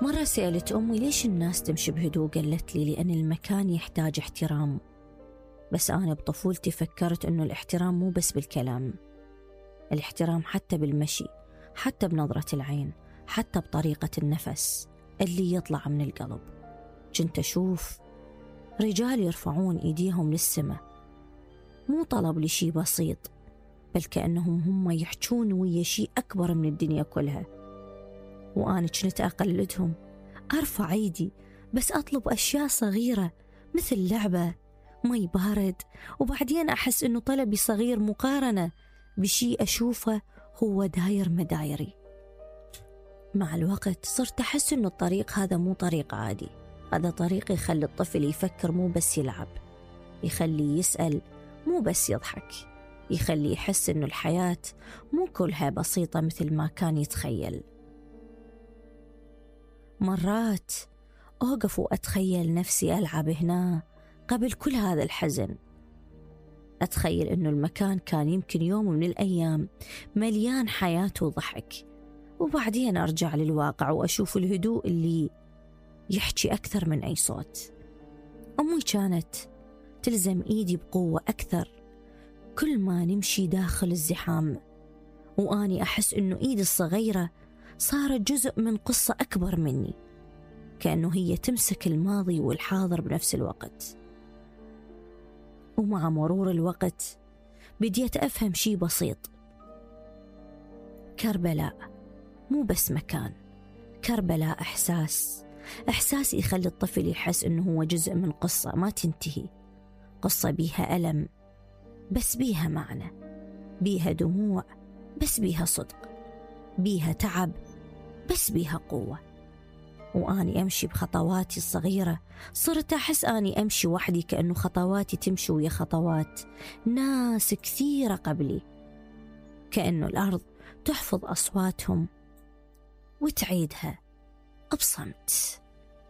مرة سألت أمي ليش الناس تمشي بهدوء، قالت لي لأن المكان يحتاج احترام. بس أنا بطفولتي فكرت أنه الاحترام مو بس بالكلام، الاحترام حتى بالمشي، حتى بنظرة العين، حتى بطريقة النفس اللي يطلع من القلب. كنت أشوف رجال يرفعون إيديهم للسماء، مو طلب لشي بسيط، بل كأنهم هم يحجون ويا شي أكبر من الدنيا كلها. وأنا كنت أقلدهم، أرفع أيدي بس أطلب أشياء صغيرة مثل لعبة، مي بارد، وبعدين أحس إنه طلبي صغير مقارنة بشي أشوفه هو داير مدايري. مع الوقت صرت أحس إنه الطريق هذا مو طريق عادي، هذا طريق يخلي الطفل يفكر مو بس يلعب، يخلي يسأل مو بس يضحك، يخلي يحس إنه الحياة مو كلها بسيطة مثل ما كان يتخيل. مرات أوقف وأتخيل نفسي ألعب هنا قبل كل هذا الحزن، أتخيل إنه المكان كان يمكن يوم من الأيام مليان حياة وضحك، وبعدين أرجع للواقع وأشوف الهدوء اللي يحكي أكثر من أي صوت. أمي كانت تلزم إيدي بقوة أكثر كل ما نمشي داخل الزحام، وأني أحس إنه إيدي الصغيرة صارت جزء من قصة أكبر مني، كأنه هي تمسك الماضي والحاضر بنفس الوقت. ومع مرور الوقت بديت أفهم شي بسيط، كربلاء مو بس مكان، كربلاء إحساس يخلي الطفل يحس إنه هو جزء من قصة ما تنتهي، قصة بيها ألم بس بيها معنى، بيها دموع بس بيها صدق، بيها تعب بس بيها قوة. وأني أمشي بخطواتي الصغيرة صرت أحس أني أمشي وحدي، كأنه خطواتي تمشي ويا خطوات ناس كثيرة قبلي، كأنه الأرض تحفظ أصواتهم وتعيدها بصمت.